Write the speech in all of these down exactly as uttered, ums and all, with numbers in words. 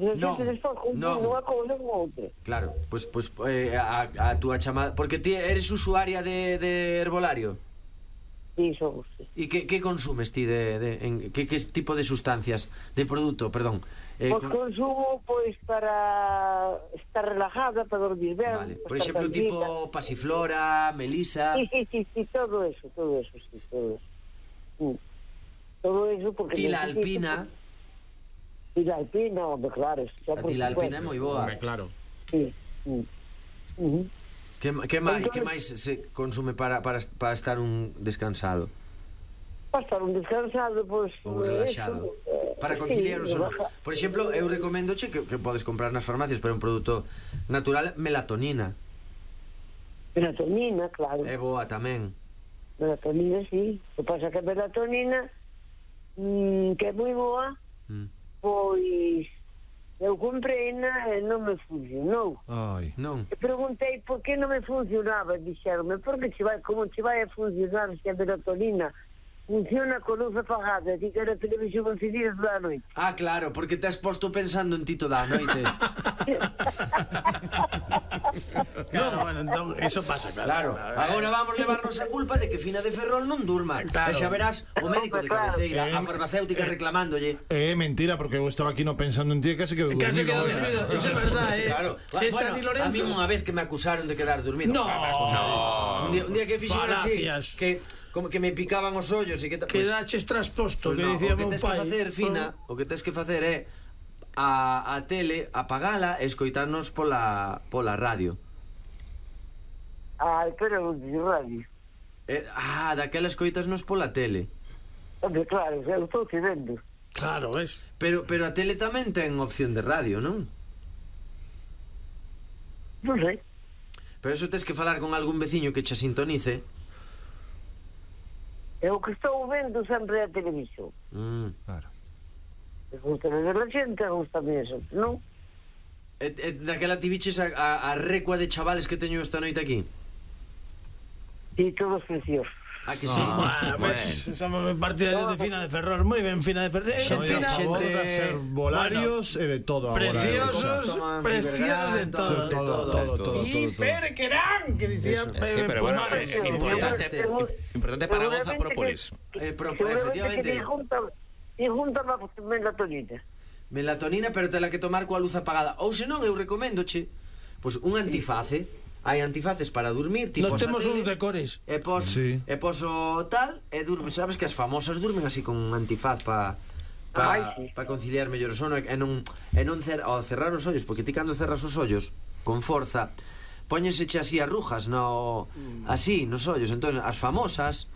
entonces non, sempre despois confundo unha cousa con outra. Claro, pois pues, pues, eh, a, a túa chamada... Porque ti eres usuaria de, de herbolario? Sí, somos, sí. E que, que consumes ti de, de en, que, que tipo de sustancias, de produto, perdón? Eh, Pois consumo, pois, para estar relajada, para dormir ben. Vale, por exemplo, tipo pasiflora, melisa... Sí, sí, sí, sí, todo eso, todo eso, sí, todo eso. Sí. Todo eso porque... Tila alpina... Tila alpina, hombre, claro. A tila alpina é moi boa. Hombre, claro. Sí, sí. Uh -huh. Que, que máis, que máis se consume para, para, para estar un descansado? Para estar un descansado, pois... Ou relaxado. Eso, para conciliar sí, o sono. Por exemplo, eu recomendo che que, que podes comprar nas farmacias, pero un produto natural, melatonina. Melatonina, claro. É boa tamén. Melatonina, sí. O que pasa que a melatonina, mmm, que é moi boa, mm. pois... Eu comprei-na e non me funcionou. Ai, non. E preguntei por que non me funcionaba. Dixeronme, porque che vai, como che vai a funcionar se a melatonina funciona con luz apagada, e ti que a televisión encendida toda a noite. Ah, claro, porque te has posto pensando en ti toda a noite. Claro, bueno, entón, eso pasa, Claro, claro. agora vamos levarnos a culpa de que Fina de Ferrol non durma. Claro. E xa verás o médico de cabeceira, a farmacéutica reclamándolle. É mentira, porque eu estaba aquí no pensando en ti e casi quedo dormido. Casi quedo dormido, eso é verdad, eh. Claro. Se Bueno, está ni Lorenzo... a mí unha vez que me acusaron de quedar dormido. No. Un día, un día que fixeron así, Falacias. que como que me picaban os ollos e que... Que daches trasposto, pues que no, dicía o que meu tes pai. que facer, Fina, o que tes que facer é a, a tele, apagala e escoitarnos pola, pola radio. Ai, pero non digo radio. Eh, ah, daquela escoitasnos pola tele. Hombre, claro, eu estou te vendo. Claro, ves? Pero, pero a tele tamén ten opción de radio, non? Non sei. Pero eso tes que falar con algún veciño que che sintonice. Eu que estou vendo sempre a televisión. Mm. Claro. Me gusta ver a xente, gusta eso, non? E, e daquela ti biches a, a, a recua de chavales que teño esta noite aquí? Sí, todos preciosos. Ah, que sí? Ah, bueno, pues somos partidarios de Fina de Ferrol. Moi ben, Fina de Ferrol. Soy Fina, a favor xente- de ser volarios e de todo agora. preciosos, Toman preciosos de Fibergan, todo. Todo, todo, todo, todo, Y todo. Perquerán, que dicía Eso. Pepe Sí, pero bueno, Pumares. es importante, importante para Goza Própolis. Eh, pro, Seguramente efectivamente, que te junta, te junta má melatonina. melatonina, pero tela que tomar coa luz apagada. Ou senón, eu recomendoche pois un antiface. Hai antifaces para dormir, tipo Nos temos a tele, uns de cores. E pos, Sí. e pos o tal, e durme, sabes que as famosas durmen así con un antifaz pa pa, Ai, sí. pa conciliar mellor o sono e non e non cer, ao cerrar os ollos, porque ti cando cerras os ollos con forza, póñenseche así arrugas no así nos ollos, entón as famosas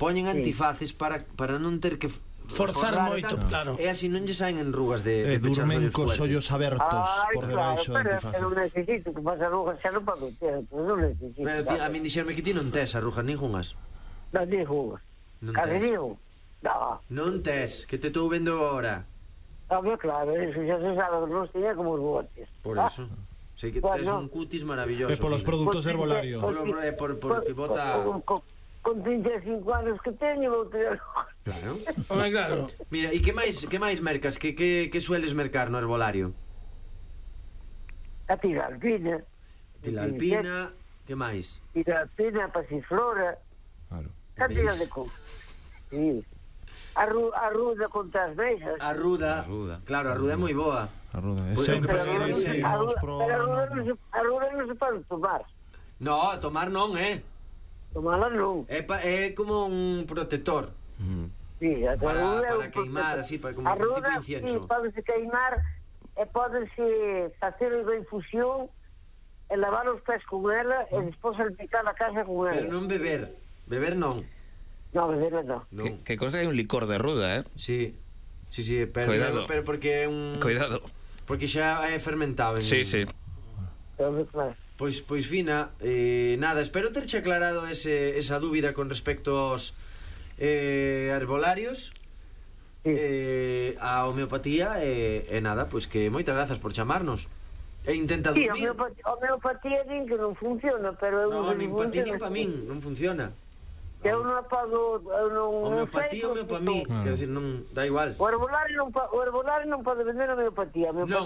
poñen antifaces para para non ter que Forzar forrar e moito, tal, claro. E así non lle saen enrugas de, E de pechar os durmen ollos cos fuerte. ollos abertos Ai, por claro, debaixo do pero antifaz. eu non necesito que pasa arrugas, xa non podo ter, pero non necesito. Pero ti, a min dixerme que ti non tes arrugas ningunhas. Non digo, Non case tes. digo. No, Non tes, que te estou vendo agora. hombre, claro, eso xa se sabe, non tiña como os botes. Por Ah, eso. Sei que Bueno. tes un cutis maravilloso. E polos Fina. produtos Pues, herbolario. pues, Por, por, por, por que bota... Con, con, con trinta e cinco anos que teño, vou ter... Claro. Home, claro. Mira, e que máis que máis mercas? Que, que, que sueles mercar no herbolario? A tiralpina. Tilalpina, que máis? Tiralpina, pasiflora, Claro. cantidad ¿Veis? de cosas. Sí. Arru, arruda contra as mesas. A ruda. A ruda. Claro, a ruda é moi boa. A ruda. E Pues, sempre pero que non se- seguimos arruda, pro... pero arruda non se, arruda non se pode tomar. No, tomar non, eh? Tomala non. É, pa, é como un protector. Mm. Sí, a Para- arruda é para un queimar, protector. así, para- como un Arruda, tipo de incienso. sí, pódese queimar e pódese facer unha infusión e lavar os pés con ela e despois salpicar a casa con ela. Pero non beber. Beber non. No, beber non. Non. Que, que cosa hai un licor de ruda, eh? Sí. Sí, sí, pero, Cuidado. pero porque é un... Cuidado. Porque xa é fermentado. En... Sí, sí. Pero, claro. Pois, pois Fina, eh, nada, espero terche aclarado ese, esa dúbida con respecto aos eh, herbolarios, Sí. eh, a homeopatía e, e nada, pois que moitas grazas por chamarnos. E intenta Sí, a dormir. homeopatía, a homeopatía din que non funciona, pero eu No, non nin pa ti nin pa min, non funciona. Eu non apago, eu non Homeopatía, non sei, homeopamí, non- quer decir, non, da igual. O herbolario non, pa- o herbolario non pode vender homeopatía. A homeopatía